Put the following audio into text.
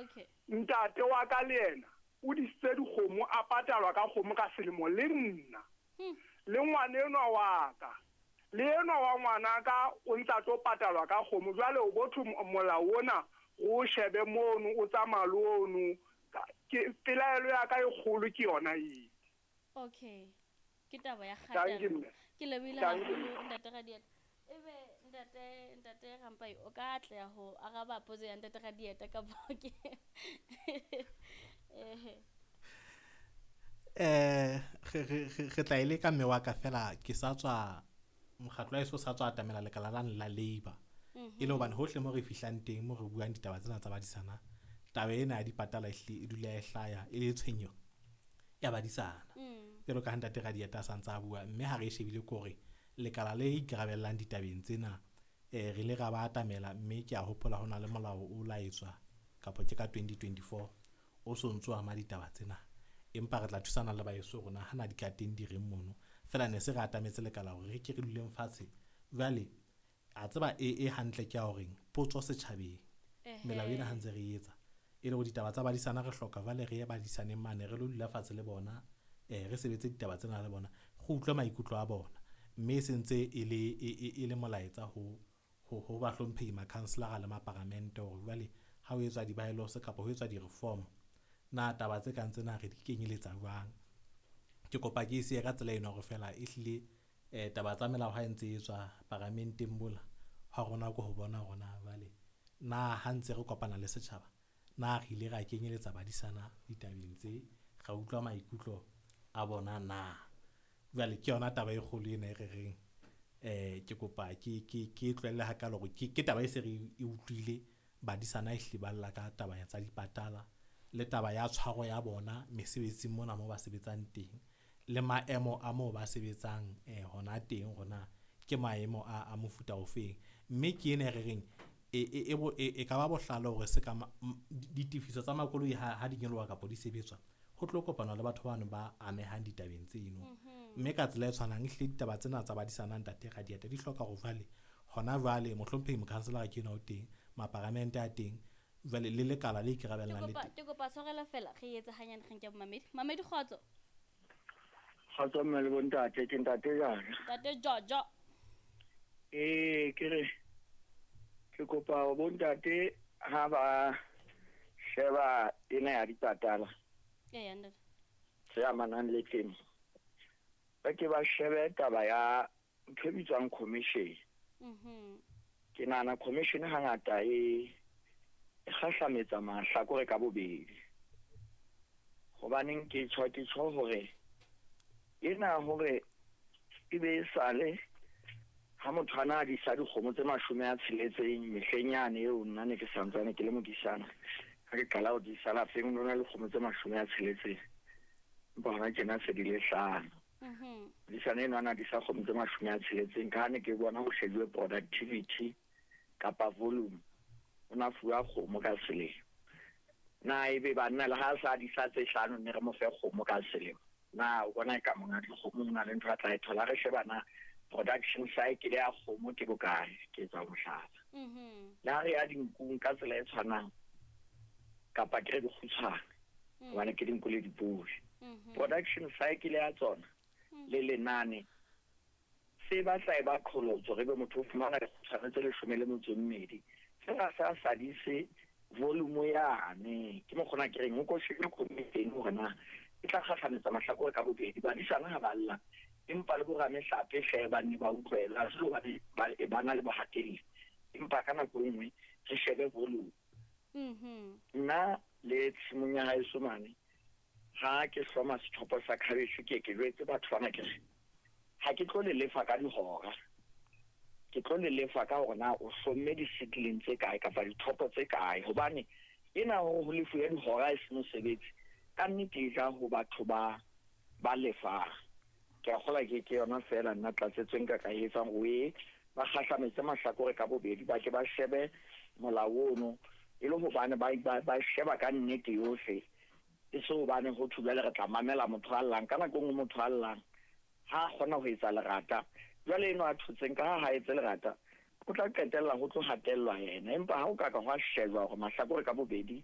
Okay. Ntate wa ka le yena o disitse dikgomo, a patalwa ka kgomo ka selemo le nna. Le ngwana enwa wa ka, le enwa wa ngwana ka o ntsa tlo patalwa ka kgomo. Jwale o botho molao ona o shebe mono o tsamaya le ono. Ke pelaelo ya ka e kgolo ke yona eo. Okay. Ke taba ya Thank you, kgatello. mme. Ke lebohile Thank you. haholo, ntate Radieta. Ebe ntate Rampai o ka atleha ho araba potso ya ntate Radieta kapa ke ehe? Re tla e leka mme wa ka fela ke sa tswa mokgatlo wa heso o sa tswa atamela lekala lane la labor. E le hobane hohle mo re fihlang teng mo re buang ditaba tsena tsa badisana, taba ena ya dipatala ehlile e dula e hlaya e le tshwenyeho ya badisana. Jwalo ka ha ntate Radieta a santse a bua, mme ha re e shebile ke hore lekala le ikarabellang ditabeng tsena re ile ra ba atamela, mme ke a hopola ho na le molao o la etswa kapa ke ka 2024 o so ntso ama ditaba tsena. Empa re tla thusana le baeso rona hana di ka teng di reng mono. Feela ne se re atametse lekala hore re ke re duleng fatshe. Jwale a tseba e hantle ke ya horeng potso setjhabeng. Melao ena ha ntse re etsa e le hore ditaba tsa badisana re hloka jwale re ye badisaneng mane re lo dula fatshe le bona, re sebetse ditaba tsena le bona, re utlwe maikutlo a bona. Mme e sentse e le e le molaetsa ho bahlomphehi makhanselara le maparamente hore jwale ha ho etswa di-bylaws kapa ho etswa di-reform, na taba tse kang tsena re di kenyeletsa jwang. Ke kopa ke e siye ka tsela eno hore feela ehlile taba tsa melao ha e ntse e etswa paramenteng mola ha rona ke ho bona hore na jwale na ha ntse re kopana le setjhaba na re ile ra kenyeletsa badisana ditabeng tse, ra utlwa maikutlo a bona na. Jwale ke yona taba e kgolo ena e re reng ke kopa ke tlohelle hakalo hore ke taba e se re e utlwile badisana ehlile ba lla ka taba ya tsa dipatala le taba ya tshwaro ya bona mesebetsing mona mo ba sebetsang teng le maemo a moo ba sebetsang hona teng hore na ke maemo a mofuta ofeng. Mme ke ena e re reng e ka ba bohlale hore se ka ditefiso tsa makoloi ha di nyoloha kapa di sebetswa ho tlo kopanwa le batho bano ba amehang ditabeng tseno. Mme ka tsela e tshwanang ehlile ditaba tsena tsa badisana ntate Radieta di hloka hore jwale hona jwale mohlomphehi mokhanselara ke enwa o teng, maparamente a teng, jwale le lekala le ikarabellang le teng. Ke kopa tshwarelo fela re etse hanyane re nke bomamedi. Mamedi kgotso. Kgotso mme le bontate, ke ntate Jara. Ntate Jojo. Ke re ke kopa bontate ha ba sheba ena ya dipatala. Ee, ntate. Tse amanang le temo. Ba ke ba shebe taba ya ntho e bitswang commission. Ke nahana commission hangata e kgahlametsa mahlakore ka bobedi. Hobaneng ke tjho, ke tjho hore ena hore e be e sale ha motho a na disa dikgomo tse 60 mehleng yane eo nna ne ke santsane ke le modisana. Ha ke qala ho disa lapeng, ho na le dikgomo tse 60. Empa hona tjena se di le 5. Modisana enwa a na disa kgomo tse 60, ka ha ne ke bona ho shejuwe productivity kapa volume, o na fuwa kgomo ka selemo. Na ebe banna le ha sa disa tse 5 ne re mo fe kgomo ka selemo. Na o bona ka monga dikgomo ho na le ntho a tla e thola? Re sheba na production cycle ya kgomo ke bokae, ke etsa mohlala. Le ha re ya dinkung ka tsela e tshwanang, kapa ke re dikgutshwane, hobane ke dinku le dipodi. Production cycle ya tsona le lenane se batla e ba qholotso, re be motho o fumana dikgutshwane tse 12. Fela sa sadise volume yane, ke mokgona ke reng o ko shebe committee hore na e tla kgahlametsa mahlakore ka bobedi. Badisana ha ba lla, empa le boramehlape hle ba nne ba utlwela, ha se hobane ba na le bohatelli, empa ka nako e nngwe re shebe volume. Nna le tshimong ya haeso mane, ha ke hloma sethopo sa khabetjhe, ke ke jwetse batho bana ke re ha ke tlo le lefa ka dihora, ke tlo le lefa ka hore na o hlomme di-seedling tse kae kapa dithopo tse kae, hobane ena hore ho lefuwe dihora e se mosebetsi, ka nnete e ja ho batho ba lefang. Ke a kgolwa ke yona feela nna tlatsetso e nka ka e etsang, o e ba kgahlametse mahlakore ka bobedi, ba ke ba shebe molao ono e le hobane ba sheba ka nnete yohle, e se hobane ho thwe jwale re tla mamela motho a llang. Ka nako e nngwe motho a llang ha a kgona ho etsa lerata, jwale eno a thotseng ka ha ha etse lerata, o tla qetella ho tlo hatellwa yena. Empa ha o ka ka hwa shejwa hore mahlakore ka bobedi